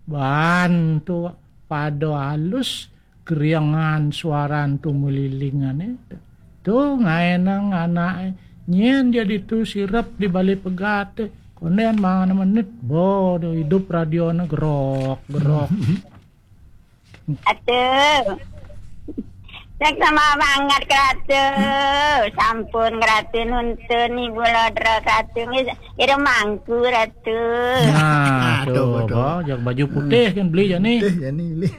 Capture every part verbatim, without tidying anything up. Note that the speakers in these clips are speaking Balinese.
Bantu pada alus kriangan suaran tumulilingane. Tu ngaenang anake nyen jadi tu sirep di bale pegate. Konden mangan menit bo do idup radione gerok gerok. Atuh. Nek sama banget keratu. Sampun keratu nuntun ibu lodra keratu nggih. Ira mangku ratu. Nah, tuh, tuh, tuh. Bo, jak baju putih kan beli jani. Putih jani beli.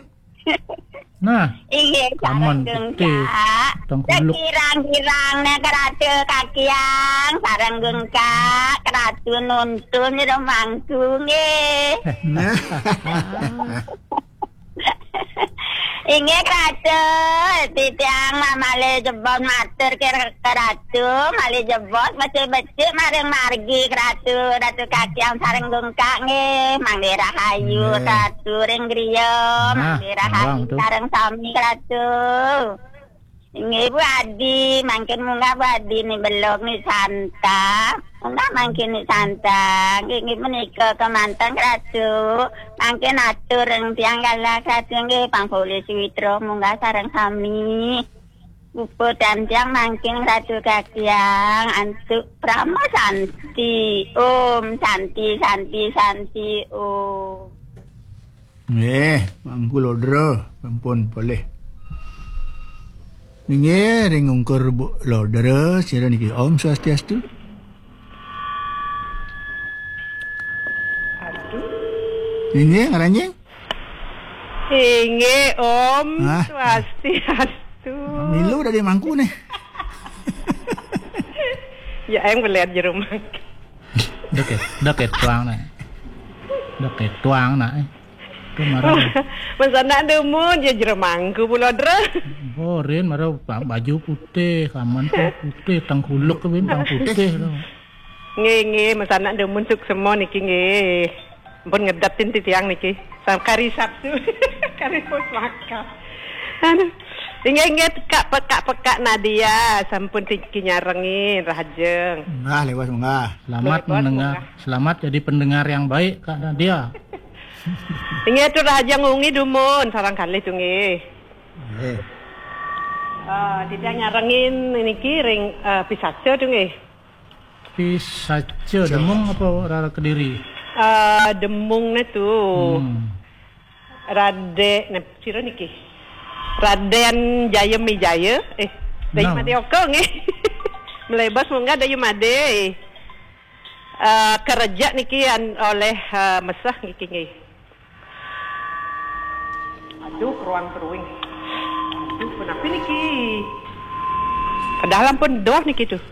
Nah, inggih, aman sareng putih. Gengkak. Tengkuluk. Kirang-kirang nek keratu kakiang sareng gengkak keratu nuntun ira mangku nggih. Nah. Inggih keratu, titiang mamale jebon matur ke keratu, male jebon becik-becik maring margi keratu, ratu kakiang sareng gengkak nggih, mangke rahayu. Nggih. Keratu ring griya, nah, mangke rahayu abang tuh. Sareng sami keratu. Inggih Bu Adi, mangkin munggah Bu Adi ni belog ni santa. Munggah mangkin ni santa. Inggih, inggih menika kemanten keratu. Mangkin atur ring tiang galah keratu inggih pang polih sawitra munggah sareng sami. Puput dan tiang mangkin keratu kakiang antuk Parama Santi. Om Santi, Santi, Santi, Om. Nggih, mangku lodra, sampun polih. Nggih, ring ungkur Bu Lodra, sira niki Om Swastiastu. Aduh. Nggih, ngaranjing? Inggih, Om. Hah? Swastiastu. Milu dari mangku nih. Ya, em ngeliat jeruk mangku. Deket, deket tuang nih. Deket tuang nak, eh. Itu marah. Masa nak demun, ya jeruk mangku pula, Dra. Borin, marah pa-, baju putih, kaman tuh putih, tengkuluk tuh, Bin, tang putih tuh. Nggih, nggih, masa nak demun suksema niki, nggih. Ampun ngedatin titiang niki. Sam-, kari Sabtu. Kari pusaka. Aduh. Inggih, inggih, pekak, pekak, pekak Nadia. Sampun tiki nyarengin, rahajeng. Nah, lewas munggah. Selamat lepas mendengar, munggah. Selamat jadi pendengar yang baik, Kak Nadia. Inggih, tu rahajeng wengi dumun, sareng kalih tu nggih. Nggih. Ah, titiang nyarengin niki ring, ah, pisaca tu nggih. Pisaca. Pisaca. Demung apa Rara Kediri? Ah, Demung ne tu. Hmm. Rade-, ne, sira niki? Raden Jaya Mijaya, eh, Dayu Nah. Made Oka nggih. Melebas munggah Dayu Made. Ah, kerja niki an-, oleh, ah, Mesah niki nggih. Aduh, keruan keruing. Aduh, kenapa niki? Padahal ampun doh niki tuh.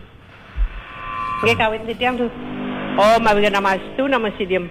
Nggih kawin titiang tuh. Oh, mawi nama astu nama sidim.